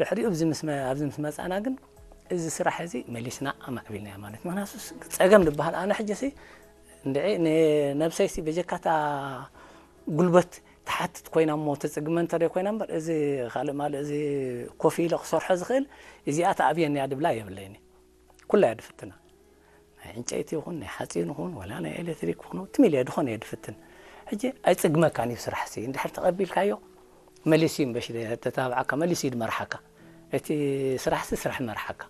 ድሕሪኡ ኣብዚ ምስ መ-፣ ኣብዚ ምስ መጻና ግን እዚ ስራሕ እዚ መሊስና ኣማዕቢልናዮ ማለት እዩ። ምኽንያቱ ጸገም ዝበሃል ኣነ ሕጂ ሲ እንድዒ ንነብሰይ ሲ በጀካታ ጉልበት ትሓትት ኮይና እሞ ተጽግመ እንተ ደይ ኮይና እምበር፣ እዚ ካልእ ማለት እዚ ኮፍ ኢለ ክሰርሖ ዝኽእል እዚኣ ትኣብየኒ እያ ድብላ የብለይን። ኩላ እያ ድፍትና። ናይ ዕንጨይቲ ይኹን ናይ ሓጺን ይኹን ዋላ ናይ ኤሌክትሪክ ይኹን ትም ኢለ ድኾነ እየ ድፍትን። ሕጂ ኣይጽግመካን እዩ ስራሕ ሲ እንድሕር ተቐቢልካዮ መሊሱ እዩ ምበሽ ተታብዓካ፣ መሊሱ እዩ ድመርሓካ። እቲ ስራሕ ሲ ስራሕ መርሓካ።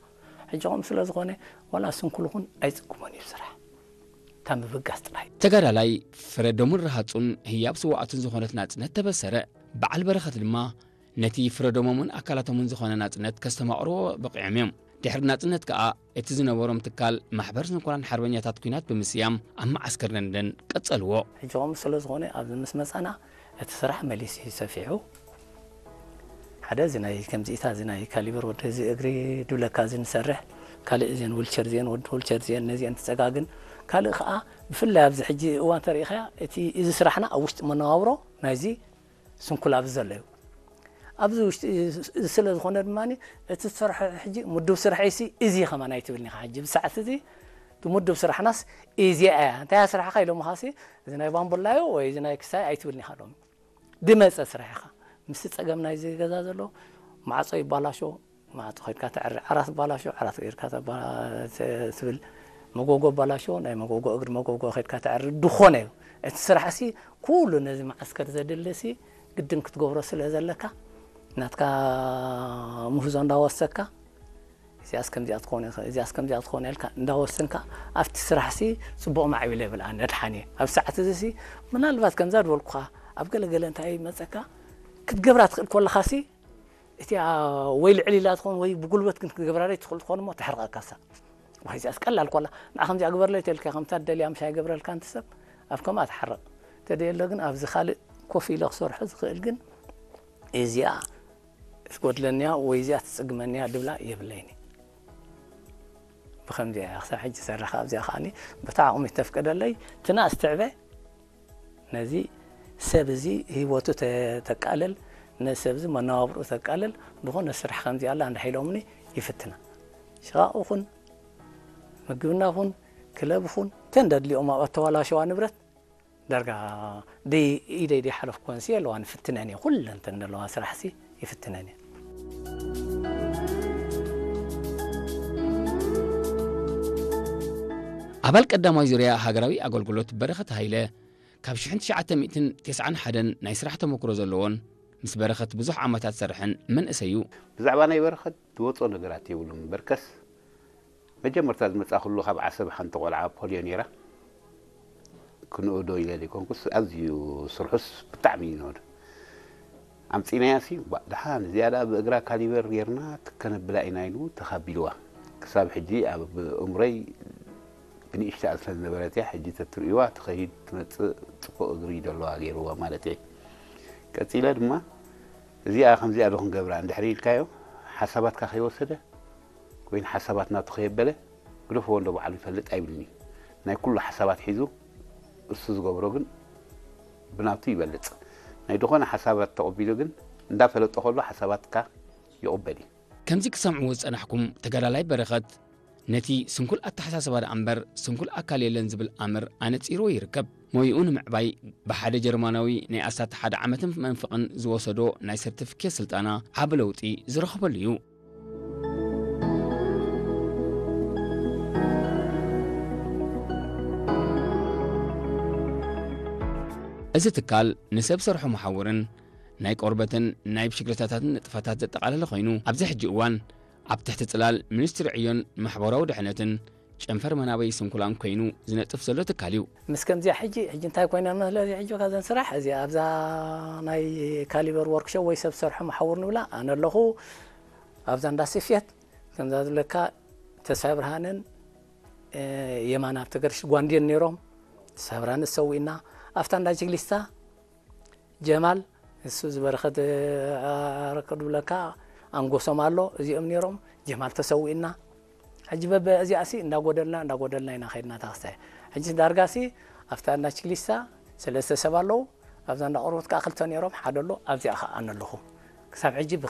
ሕጂ ከምኡ ስለ ዝኾነ ዋላ ስንኩል ይኹን ኣይጽግሞን እዩ ስራሕ። እታ ምብጋስ ጥራይ። ተጋዳላይ ፍረደሙን ረሃጹን ህያብ ስውኣቱን ዝኾነት ናጽነት ተበሰረ። በዓል በረኸት ድማ ነቲ ፍረደሞምን ኣካላቶምን ዝኾነ ናጽነት ከስተማቕርዎ በቒዖም እዮም። ድሕሪ ናጽነት ከኣ እቲ ዝነበሮም ትካል ማሕበር ስንኩላን ሓርበኛታት ኲናት ብምስያም ኣብ መዓስከር ደንደን ቀጸልዎ። ሕጂ ከምኡ ስለ ዝኾነ ኣብዚ ምስ መጻና እቲ ስራሕ መሊሱ እዩ ሰፊሑ። ሓደ እዚ ናይ ከምዚኢታ እዚ ናይ ካሊበር ወዲ እዚ እግሪ ድብለካ እዚ ንሰርሕ፣ ካልእ እዚን ዊልቸር እዚን ወዲ ዊልቸር እዚን ነዚአን ትጸጋግን። ካልእ ከኣ ብፍላይ ኣብዚ ሕጂ እዋን ተሪኢኻያ እቲ እዚ ስራሕና ኣብ ውሽጢ መነባብሮ ናይዚ ስንኩል ኣብዚ ዘሎ እዩ። ኣብዚ ውሽጢ እዚ ስለ ዝኾነ ድማ እቲ ትሰርሖ ሕጂ ምዱብ ስራሕ ሲ እዚ ከማን ኣይትብልኒ ኢኻ። ሕጂ ብሰዓት እዚ እቲ ምዱብ ስራሕናስ እዚኣ እያ። እንታይ እያ ስራሕኻ ኢሎምኻ ሲ እዚ ናይ ባምቡላዮ ወይ እዚ ናይ ክሳይ ኣይትብልኒ ኢኻ ሎሚ። ድመጸ ስራሕ ኢኻ። ምስቲ ጸገም ናይዚ ገዛ ዘሎ ማዕጾ ይባላሾ፣ ማዕጾ ከድካ ተዕሪ፣ ዓራት ባላሾ፣ ዓራት ጌርካ ተባ-፣ ተ-፣ ትብል፣ መጎጎ ባላሾ፣ ናይ መጎጎ እግሪ መጎጎ ከድካ ተዕሪ ድኾነ እዩ። እቲ ስራሕ ሲ ኩሉ ነዚ መዓስከር ዘድሊ ሲ ግድን ክትገብሮ ስለ ዘለካ፣ ናትካ ምህዞ እንዳወሰካ፣ እዚኣስ ከምዚኣ ትኾን፣ እዚኣስ ከምዚኣ ትኾን ኢልካ እንዳወሰንካ፣ ኣብቲ ስራሕ ሲ ጽቡቕ ማዕቢለ ይብል ኣነ ድሓን እየ። ኣብ ሰዓት እዚ ሲ ምናልባት ከምዛ ዝበልኩኻ ኣብ ገለ ገለ እንታይ ይመጸካ፣ ክትገብራ ትኽእል ኮለኻ ሲ እቲኣ ወይ ልዕል ኢላ ትኾን ወይ ብጉልበት ግን ክትገብራ ትኽእል ትኾን እሞ ተሕርቐካ ሳ። ወይ እዚኣስ ቀላል ኮላ። ንዓ ከምዚኣ ግበርለይ ተልካ ከምታ ደልያ ምሻ ይገብረልካ ኣንቲ ሰብ ኣብ ከምኣ ትሓርቕ። ተደየሎ ግን ኣብዚ ካልእ ኮፍ ኢለ ክሰርሖ ዝኽእል ግን እዚኣ ትጎድለንያ ወይ እዚኣ ትጽግመንያ ድብላ የብለይኒ። ብኸምዚኣ እያ ክሳብ ሕጂ ዝሰርሕ። ኣብዚኣ ከኣኒ በታ ዓቕሚ ተፍቀደለይ ትናስ ትዕበ ነዚ ሰብ እዚ ህይወቱ ተ-፣ ተቃልል፣ ነዚ ሰብ እዚ መነባብርኡ ተቃልል፣ ዝኾነ ስራሕ ከምዚ ኣላ እንድሕር ኢሎምኒ ይፍትና። ሽቓቕ ኹን፣ ምግብና ኹን፣ ክለብ ኹን፣ ተን ደድልኦም ኣብ ኣተባላሸዋ ንብረት ዳርጋ ደይ-፣ ኢደይ ደይሓለፍኩወን ሲ ኣለዋ ንፍትነን እየ። ኩለን ተን ዘለዋ ስራሕ ሲ ይፍትነን እየ። ኣባል ቀዳማይ ዙርያ ሃገራዊ ኣገልግሎት በረኸት ሃይለ ካብ ሽሕን ትሽዓተ ሚእትን ተስዓን ሓደን ናይ ስራሕ ተመክሮ ዘለዎን ምስ በረኸት ብዙሕ ዓመታት ዝሰርሐን መንእሰይ እዩ። ብዛዕባ ናይ በረኸት ዝወጾ ነገራት የብሉን እምበርከስ፣ መጀመርታ ዝመጻእኩሉ ካብ ዓሰብ ሓንቲ ቆልዓ ፖልዮ ነይራ። ክንእዶ ኢለ ዘይኮንኩስ፣ ኣዝዩ ስርሑስ ብጣዕሚ እዩ ንእዶ። ኣምጺእናያ ሲ፣ ባ-፣ ደሓን እዚኣ ደኣ ብእግራ ካሊበር ጌርና ከነብላ ኢና ኢሉ ተኻቢልዋ። ክሳብ ሕጂ ኣብ እምሮይ ብንእሽተኣ ስለ ዝነበረት እያ፣ ሕጂ ተትርእይዋ ትኸይድ ትመጽእ ጽቡቕ እግሪ እዩ ዘለዋ ገይርዋ ማለት እየ። ቀጺለ ድማ እዚኣ ከምዚኣ ዶ ክንገብራ እንድሕር ኢልካዮ፣ ሓሳባትካ ከይወሰደ ወይ ሓሳባት ናቱ ከየበለ ግደፍዎ እንዶ ባዕሉ ይፈልጥ ኣይብልን እዩ። ናይ ኩሉ ሓሳባት ሒዙ እሱ ዝገብሮ ግን ብናቱ ይበልጽ። ናይ ዝኾነ ሓሳባት ተቐቢሉ ግን እንዳፈለጦ ከሎ ሓሳባትካ ይቕበል እዩ። ከምዚ ክሰምዕዎ ዝጸናሕኩም ተጋዳላይ በረኸት ነቲ ስንኩል ኣተሓሳስባ ደኣ እምበር ስንኩል ኣካል የለን ዝብል ኣምር ኣነጺርዎ ይርከብ። ሞይኡ ንምዕባይ ብሓደ ጀርማናዊ ናይ ኣስታት ሓደ ዓመትን መንፍቕን ዝወሰዶ ናይ ሰርቲፊኬት ስልጠና ዓቢ ለውጢ ዝረኸበሉ እዩ። እዚ ትካል ንሰብ ሰርሖ መሓውርን ናይ ቆርበትን ናይ ብሽክለታታትን ንጥፈታት ዘጠቓለለ ኮይኑ፣ ኣብዚ ሕጂ እዋን ኣብ ትሕቲ ጽላል ሚኒስትሪ ዕዮን ማሕበራዊ ድሕነትን ጨንፈር መናበይ ስንኩላን ኮይኑ ዝነጥፍ ዘሎ ትካል እዩ። ምስ ከምዚኣ ሕጂ፣ ሕጂ እንታይ ኮይና መስለ እዚ ሕጂ ካብዘን ስራሕ እዚ ኣብዛ ናይ ካሊበር ወርክሾፕ ወይ ሰብ ሰርሖ መሓውር ንብላ ኣነ ኣለኹ። ኣብዛ እንዳ ስፌት ከምዛ ዝብለካ ተስፋ ብርሃንን፣ እ፣ የማነ ሃብተገርግስ ጓንዴን ነይሮም። ተስፋ ብርሃን ተሰዊእና። ኣብታ እንዳ ጅግሊስታ ጀማል፣ እሱ ዝበረኸት ኣረከ ድብለካ ኣንጎሶም ኣሎ፣ እዚኦም ነይሮም። ጀማል ተሰዊእና። ሕጂ በበ እዚኣ ሲ እንዳጎደልና፣ እንዳጎደልና ኢና ኸድና ታኽስታይ። ሕጂ ዳርጋ ሲ ኣብታ እንዳ ችግሊስታ ሰለስተ ሰብ ኣለዉ። ኣብዛ እንዳ ቆርበት ከኣ ክልተ ነይሮም፣ ሓደ ኣሎ። ኣብዚኣ ከኣ ኣነ ኣለኹ። ክሳብ ሕጂ ብኸ-